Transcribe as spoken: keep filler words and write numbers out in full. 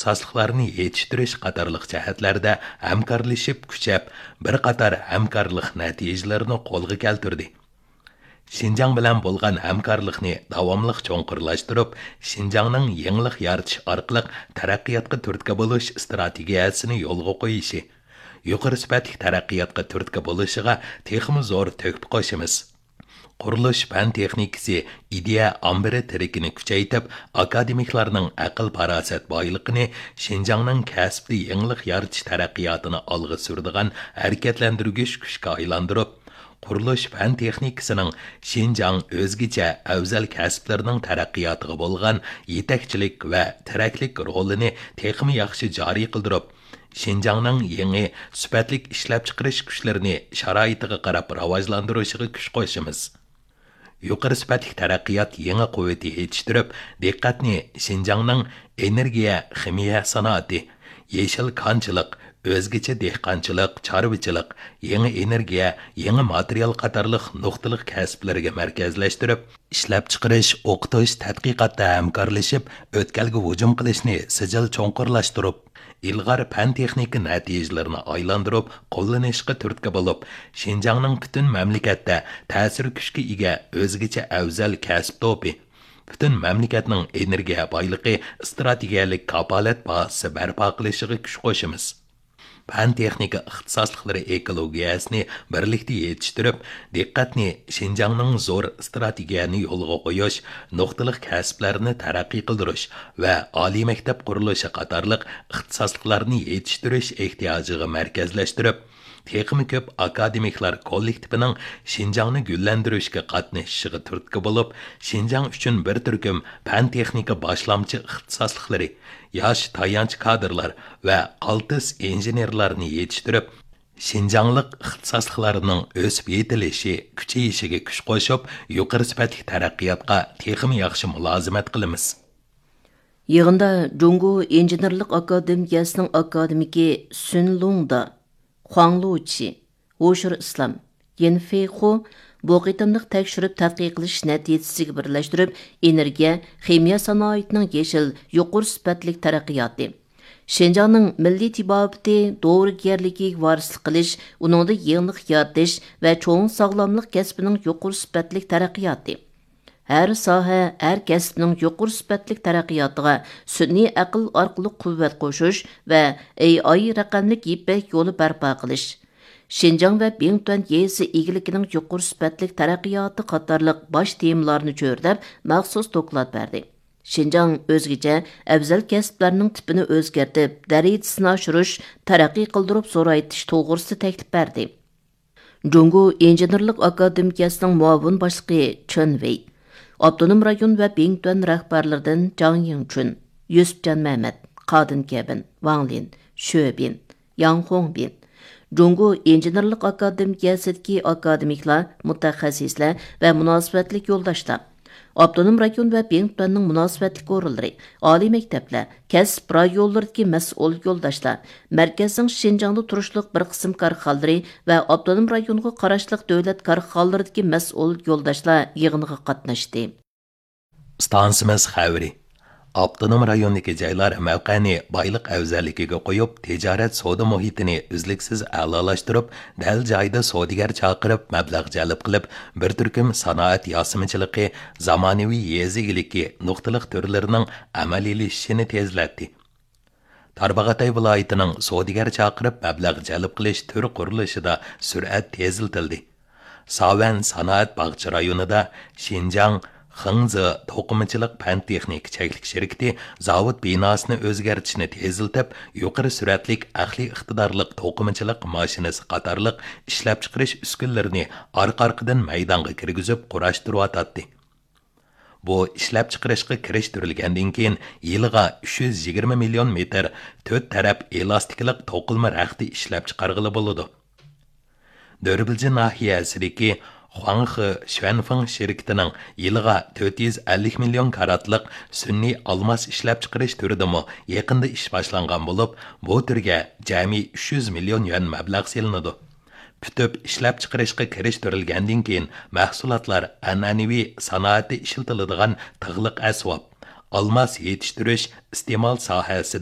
ئىختىساسلىقلارنى يېتىشتۈرۈش قاتارلىق جەھەتلەردە ھەمكارلىشىپ كۈچەپ، بىر قاتار ھەمكارلىق نەتىجىلىرىنى قولغا كەلتۈردى. شىنجاڭ بىلەن بولغان ھەمكارلىقنى داۋاملىق چوڭقۇرلاشتۇرۇپ، شىنجاڭنىڭ يېڭىلىق يارىتىش ئارقىلىق تەرەققىياتقا تۈرتكە بولۇش ئىستراتېگىيەسىنى يولغا قويۇشى، يۇقىرى سۈپەتلىك تەرەققىياتقا تۈرتكە بولۇشىغا تېخىمۇ زور تۆھپە قوشىمىز. قۇرۇلۇش پەن تېخنىكىسى ئىدىيە ئامبىرى تىرىكىنى كۈچەيتىپ، ئاكادېمىكلارنىڭ ئەقىل-پاراسەت بايلىقىنى شىنجاڭنىڭ كەسىپتە يېڭىلىق يارىتىش تەرەققىياتىنى ئالغا سۈرىدىغان ھەرىكەتلەندۈرگۈچ كۈچكە ئايلاندۇرۇپ، قۇرۇلۇش پەن تېخنىكىسىنىڭ شىنجاڭ ئۆزگىچە ئەۋزەل كەسىپلىرىنىڭ تەرەققىياتىغا بولغان يېتەكچىلىك ۋە تىرەكلىك رولىنى تېخىمۇ ياخشى جارى قىلدۇرۇپ، شىنجاڭنىڭ يېڭى سۈپەتلىك ئىشلەپچىقىرىش كۈچلىرىنى شارائىتىغا قاراپ راۋاجلاندۇرۇشىغا كۈچ قوشىمىز. يۇقىرى سۈپەتلىك تەرەققىيات يېڭى قۇۋۋىتى يېتىشتۈرۈپ، دىققەتنى شىنجاڭنىڭ ئېنېرگىيە، خىمىيە سانائىتى، يېشىل كانچىلىق، ئۆزگىچە دېھقانچىلىق، چارۋىچىلىق، يېڭى ئېنېرگىيە، يېڭى ماتېرىيال قاتارلىق نۇقتىلىق كەسىپلىرىگە مەركەزلەشتۈرۈپ، ئىشلەپچىقىرىش، ئوقۇتۇش، تەتقىقاتتا ھەمكارلىشىپ، ئۆتكەلگە ھۇجۇم قىلىشنى سىجىل چوڭقۇرلاشتۇرۇپ، ئىلغار پەن-تېخنىكا نەتىجىلىرىنى ئايلاندۇرۇپ قوللىنىشقا تۈرتكە بولۇپ، شىنجاڭنىڭ پۈتۈن مەملىكەتتە تەسىر كۈچكە ئىگە ئۆزگىچە ئەۋزەل كەسىپ توپى، پۈتۈن مەملىكەتنىڭ ئېنېرگىيە بايلىقى ئىستراتېگىيەلىك كاپالەت بازىسى بەرپا قىلىشىغا كۈچ قوشىمىز. پەن-تېخنىكا ئىختىساسلىقلىرى ئېكولوگىيەسىنى بىرلىكتە يېتىشتۈرۈپ، دىققەتنى شىنجاڭنىڭ زور ئىستراتېگىيەنى يولغا قويۇش، نۇقتىلىق كەسىپلەرنى تەرەققىي قىلدۇرۇش ۋە ئالىي مەكتەپ قۇرۇلۇشى قاتارلىق ئىختىساسلىقلارنى يېتىشتۈرۈش ئېھتىياجىغا مەركەزلەشتۈرۈپ، تېخىمۇ كۆپ ئاكادېمىكلار كوللېكتىپىنىڭ شىنجاڭنى گۈللەندۈرۈشكە قاتنىشىشىغا تۈرتكە بولۇپ، شىنجاڭ ئۈچۈن بىر تۈركۈم پەن-تېخنىكا باشلامچى ئىختىساسلىقلىرى، ياش تايانچ كادىرلار ۋە قالتىس ئىنژېنېرلارنى يېتىشتۈرۈپ، شىنجاڭلىق ئىختىساسلىقلارنىڭ ئۆسۈپ يېتىلىشى، كۈچىيىشىگە كۈچ قوشۇپ، يۇقىرى سۈپەتلىك تەرەققىياتقا تېخىمۇ ياخشى مۇلازىمەت قىلىمىز. يىغىندا جۇڭگو ئىنژېنېرلىق ئاكادېمىيەسىنىڭ ئاكادېمىكى سۈن لۇڭدا، خۇاڭ لۇچى، ھوشۇر ئىسلام، يىن فېيخۇ بۇ قېتىملىق تەكشۈرۈپ تەتقىق قىلىش نەتىجىسىگە بىرلەشتۈرۈپ، ئېنېرگىيە، خىمىيە سانائىتىنىڭ يېشىل، يۇقىرى سۈپەتلىك تەرەققىياتى، شىنجاڭنىڭ مىللىي تېبابىتى دورىگەرلىكىگە ۋارىسلىق قىلىش، ئۇنىڭدا يېڭىلىق يارىتىش ۋە چوڭ ساغلاملىق كەسپىنىڭ يۇقىرى سۈپەتلىك تەرەققىياتى، ھەر ساھە، ھەر كەسىپنىڭ يۇقىرى سۈپەتلىك تەرەققىياتىغا سۈنئىي ئەقىل ئارقىلىق قۇۋۋەت قوشۇش ۋە ئېي ئاي رەقەملىك يىپەك يولى بەرپا قىلىش، شىنجاڭ ۋە بىڭتۈەن يېزا ئىگىلىكىنىڭ يۇقىرى سۈپەتلىك تەرەققىياتى قاتارلىق باش تېمىلارنى چۆرىدەپ مەخسۇس دوكلات بەردى. شىنجاڭ ئۆزگىچە ئەۋزەل كەسىپلەرنىڭ تىپىنى ئۆزگەرتىپ، دەرىجىسىنى ئاشۇرۇش، تەرەققىي قىلدۇرۇپ زورايتىش توغرىسىدا تەكلىپ بەردى. جۇڭگو ئىنژېنېرلىق ئاكادېمىيەسىنىڭ مۇئاۋىن باشلىقى چېن ۋېي، ئاپتونوم رايون ۋە بىڭتۈەن رەھبەرلىرىدىن جاڭ يىڭچۈن، يۈسۈپجان مەمەت، قادىن كەۋىن، ۋاڭ لىن، شۆ بىن، ياڭ خۇڭبىن، جۇڭگو ئىنژېنېرلىق ئاكادېمىيەسىدىكى ئاكادېمىكلار، مۇتەخەسسىسلەر ۋە مۇناسىۋەتلىك يولداشلار، ئاپتونوم رايون ۋە بىڭتۈەننىڭ مۇناسىۋەتلىك ئورۇنلىرى، ئالىي مەكتەپلەر، كەسىپ رايونلىرىدىكى مەسئۇل يولداشلار، مەركەزنىڭ شىنجاڭدا تۇرۇشلۇق بىر قىسىم كارخانىلىرى ۋە ئاپتونوم رايونغا قاراشلىق دۆلەت كارخانىلىرىدىكى مەسئۇل يولداشلار يىغىنغا قاتناشتى. ئىستانسىمىز خەۋىرى. ئاپتونوم رايوندىكى جايلار مەۋقەنى بايلىق ئەۋزەللىكىگە قويۇپ، تىجارەت سودا مۇھىتىنى ئۈزلۈكسىز ئەلالاشتۇرۇپ، دەل جايىدا سودىگەر چاقىرىپ، مەبلەغ جەلپ قىلىپ، بىر تۈركۈم سانائەت ياسىمىچىلىقى، زامانىۋى يېزا ئىگىلىكى نۇقتىلىق تۈرلىرىنىڭ ئەمەلىيلىشىشىنى تېزلەتتى. تارباغاتاي ۋىلايىتىنىڭ سودىگەر چاقىرىپ مەبلەغ جەلپ قىلىش تۈر قۇرۇلۇشىدا سۈرئەت تېزلىتىلدى. ساۋەن سانائەت باغچە رايونىدا شىنجاڭ خېڭزې توقۇمىچىلىق پەن تېخنىكا چەكلىك شىركىتى زاۋۇت بىناسىنى ئۆزگەرتىشنى تېزلىتىپ، يۇقىرى سۈرئەتلىك ئەقلىي ئىقتىدارلىق توقۇمىچىلىق ماشىنىسى قاتارلىق ئىشلەپچىقىرىش ئۈسكۈنىلىرىنى ئارقا-ئارقىدىن مەيدانغا كىرگۈزۈپ قۇراشتۇرۇۋاتاتتى. بۇ ئىشلەپچىقىرىشقا كىرىشتۈرۈلگەندىن كېيىن، يىلىغا ئۈچ يۈز يىگىرمە مىليون مېتىر تۆت تەرەپ ئېلاستىكىلىق توقۇلما رەختى ئىشلەپچىقارغىلى بولىدۇ. دۆربىلجى ناھىيەسىدىكى خۇاڭخې شۈەنفېڭ شىركىتىنىڭ يىلىغا تۆت يۈز ئەللىك مىليون كاراتلىق سۈنئىي ئالماس ئىشلەپچىقىرىش تۈرىدىمۇ يېقىندا ئىش باشلانغان بولۇپ، بۇ تۈرگە جەمئىي ئۈچ يۈز مىليون يۈەن مەبلەغ سېلىنىدۇ. پۈتۈپ ئىشلەپچىقىرىشقا كىرىشتۈرۈلگەندىن كېيىن، مەھسۇلاتلار ئەنئەنىۋى سانائەتتە ئىشلىتىلىدىغان تىغلىق ئەسۋاب، ئالماس يېتىشتۈرۈش، ئىستېمال ساھەسىدە